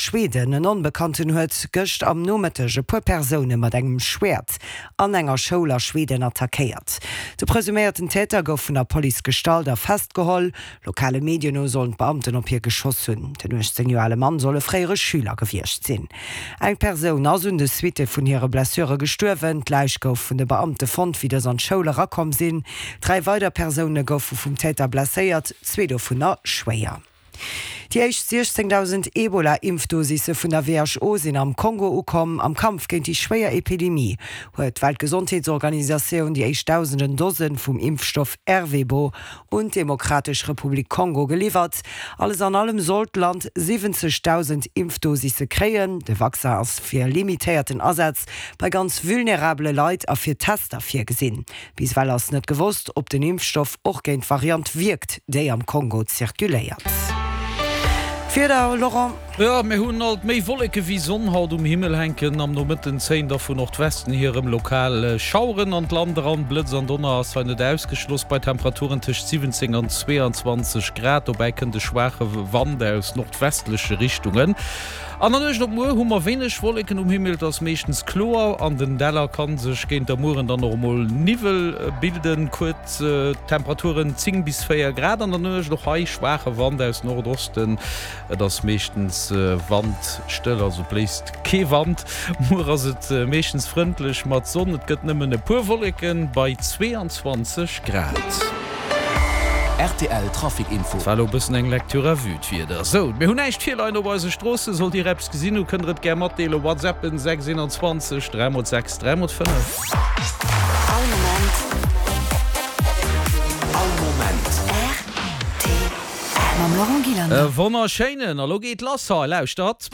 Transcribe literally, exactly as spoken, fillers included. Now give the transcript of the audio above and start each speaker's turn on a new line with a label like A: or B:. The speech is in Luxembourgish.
A: Schweden, En Onbekannten huet gëscht am Nomëtteg e puer Persoune mat engem Schwäert an enger Schoul a Schweden attackéiert. De presuméierten Täter gouf vun der Police gestallt a festgeholl. Lokale Medien no sollen d'Beamten op hie geschoss hunn. Den uechtzéng Joer ale Mann soll e fréiere Schüler gewiescht sinn. Eng Persoun ass un de Suitte vun hire Blessure gestuerwen. D'Läich gouf vun de Beamte fonnt, wéi dës an d'Schoul erakomm sinn. Dräi weider Persoune goufe vum Täter blesséiert, zwee dovunner schwéier. Déi éischt siechzéngdausend Ebola-Impfdosisse vun der W H O sinn am Kongo ukomm. Am Kampf géint déi schwéier Epidemie huet d'Weltgesondheetsorganisatioun déi éischt dausenden Dose vum Impfstoff Ervebo un d'Demokratesch Republik Kongo geliwwert. Alles an allem soll d'Land siwwenzegdausend Impfdosisse kréien. De Vaccin ass fir limitéierten Asaz bei ganz vulnerabele Leit a fir Tester virgesinn. Bis ewell ass net gewosst, ob den Impfstoff och géint d'Variant wierkt, déi am Kongo zirkuléiert. Wieder, Laurent.
B: Jo, mir hunn alt méi Wolleke wéi Sonn haut um Himmel hänken. Am Nomëtten zéien da vu Nordwesten hier erëm lokal Schaueren an d'Land eran. Blëtz an Donner ass hei net ausgeschloss bei Temperaturen tëscht siwwenzéng an zweeanzwanzeg Grad. Dobäi kënnt e schwaache Wand aus nordwestleche Richtungen. An der Nuecht op muer hu mer wéineg Wolleken um Himmel, et ass meeschtens kloer. An den Däller ka sech géint der Mueren dann och emol Niwwel bilden. Kuerz, Temperaturen zéng bis véier Grad an der Nuecht, och hei schwaache Wand aus Nordosten. Et ass meeschtens wandstëll, also bléist kee Wand. Muer ass et meeschtens frëndlech mat Sonn, et gëtt nëmmen e puer Wolleken bei zweeanzwanzeg Grad.
C: Rtl Trafic Info.
B: Et war elo e bëssen eng Lecture à vue, d'Wieder. Sou, mir hunn näischt virleien op eise Stroossen. Sollt Dir eppes gesinn hu, kënnt Der et gär matdeelen. WhatsAppen sechs einundzwanzeg dräi mol sechs dräi mol fënnef.
D: All Moment.
C: All Moment.
D: R T L. Mam Laurent Gillander.
B: E wonnerschéinen, a lo geet lass hei, lauschtert.